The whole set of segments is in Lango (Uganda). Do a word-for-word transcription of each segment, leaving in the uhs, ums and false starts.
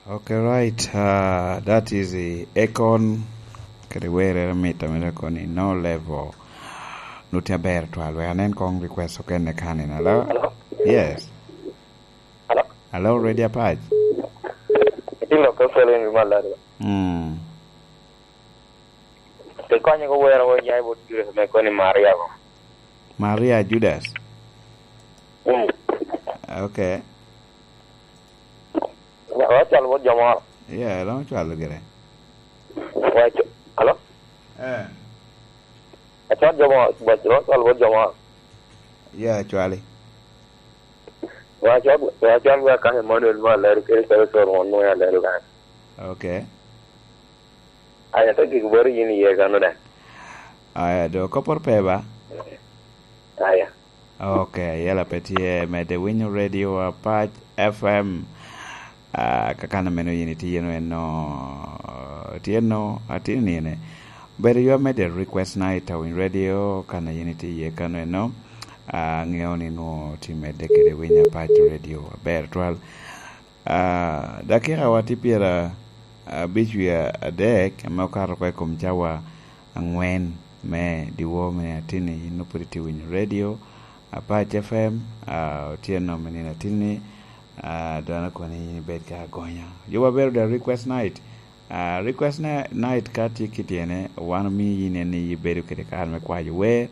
Okay, right. Uh, that is the Akon. Kede werre mit ame dok koni no level. Nuti aber twal. Wek anen kong request okene kan in. Hello? Hello? Yes. Hello? Hello, Radio Apac. Itilo ko solo in mal lari. Mm. Te konye ko wero wo nyai bot Judas me koni Maria ko. Maria Judas? Mm. Okay. Wa-, wacwal bot jo moro. Yeah, romo cwalo gire. Wac-, hello? Eh. Acwal jo moro, wac-, wacwal bot jo moro. Yeah, cwali. Wacwal, wacwal wa kan Emmanuel mo alero kede calo coro won nwoya alero kan. Okay. Aya, te gik boro yin iye kano da. Aya, do koporo pe ba? Aya. Okay, yela pe tye, mede winyo Radio Apac F M. Ah, kakan ameno yin itye eno, eno, tye eno, atye nine. Bedo yo mede request night a Winy Radio, kan a yin itye iye kano eno. Ah, aŋeo ni nwo tye mede kede Winy Apac Radio aber twal. Ah, dakika wa tye pyera abic wie adek, ame okato oko i kom cawa aŋwen me dyewor me nino atinni. Yin nwoŋo pwod itye winyo Radio Apac F M, ah, otyeno me nino atinni, ah, dano kono yin ibed ka agonya. Yo wa bedo da request night. Ah, request na-, night ka tye kit ene, wan omio yin en ni ibedo kede kare me kwayo wer,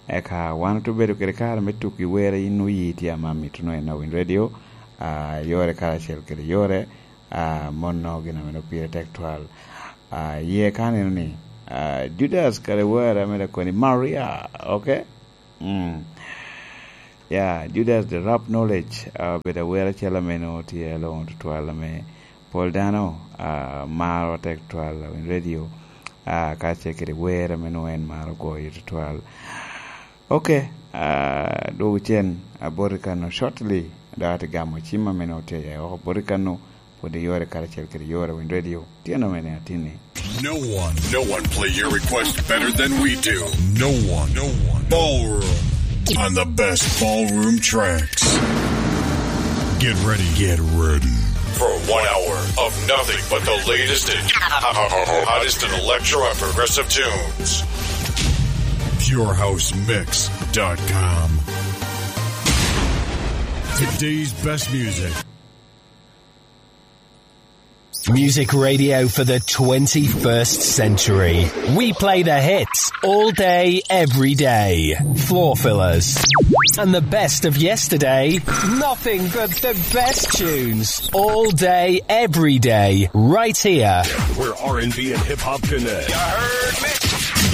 eka wan oto bedo kede kare me tuki wer, yin nwoŋo yi tye ama mito nwoŋo en a Winy Radio, ah, yore karacel kede yore, ah, mono gin ame nwoŋo pire tek twal. Ah, ye ka neno ni, ah, Judas kare wer ame dok koni Maria, okay? Mm. Ya, Judas the Rap Knowledge, ah, obedo awer acel ame nwoŋo tye alongo tutwal ame pol dano, ah, maro tek tutwal a Winy Radio, ah, kacel kede wer ame nwoŋo en maro goyo tutwal. Okay, ah, dwogo cen, aboti kano shortly, dok ate gamo cim ame nwoŋo tye aye oko boti kano, pwod iyore karacel kede yore Winy Radio. Tye nome ni atinni. No one, no one play your request better than we do. No one, no one. Ballroom on the best ballroom tracks. Get ready, get ready for one hour of nothing but the latest and hottest in electro and progressive tunes. Pure House Mix dot com. Today's best music. Music radio for the twenty-first century. We play the hits all day, every day. Floor fillers. And the best of yesterday. Nothing but the best tunes. All day, every day. Right here. Where R and B and hip hop connect. You heard me?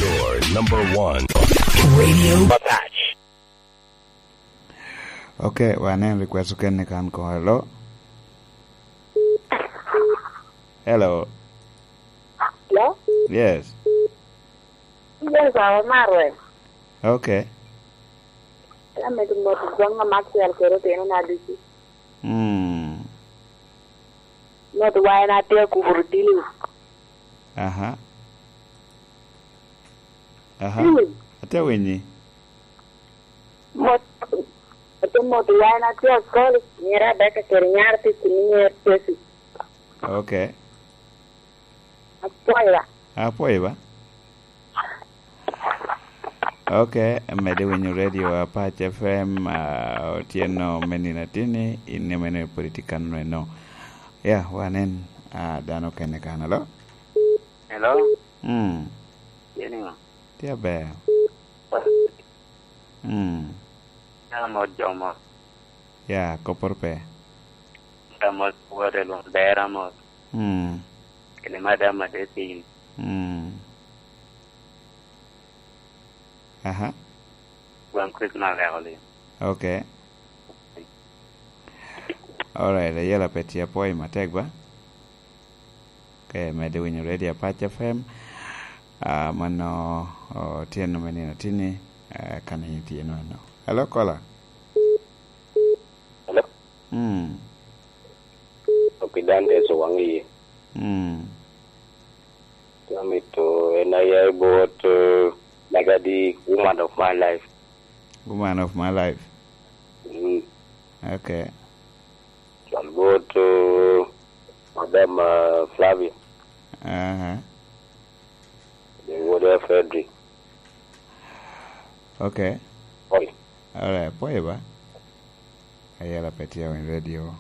Your number one. Radio Patch. Okay, wanen request okene kan ko. Hello? Hello? Hello? Yes. Yes, awa marwe. Okay. Amedo mot gwanga Maciel kede otino na ducu. Mm. Mot wa en atye akuburu tili. Aha. Aha. Mm. Atye winyi. Mot, ate mot wa en atye akol, nyera Rebecca kede nyar tye kini nyar Tracy. Okay. Apwoyo ba. Apwoyo ba. Okay, mede winyo radio Apac F M, ah, otyeno me nino atinni, in emene pwod itye kano eno. Ya, wanen, ah, dano kene kan, alo? Hello? Mm. Tye niŋo? Tye aber. Mm. Ya, mot jo mot. Ya, kopporo pe. Ya, mot wot i lwak dera mot. Mm. Kede madam Adetin. Mm. Aha. Wan Christmas leko li. Okay. Alright, ayela pe tye apwoyo matek ba. Ke mede winyo Radio Apac F M. Ah, mano, oh, tye nome nino tini, ah, kan in tye nome no. Hello, caller. Hello? Mm. Opi Dantes Owaŋ Iye. Mm. Amito en aya i bot, eh, Magadi, Woman of My Life. Woman of My Life. Mm. Okay. Cwal bot, eh, Madam, uh, Flavia. Aha. Wode Frederick. Okay. Oi. Alright, pwoyo ba. Ayela pe tye in radio.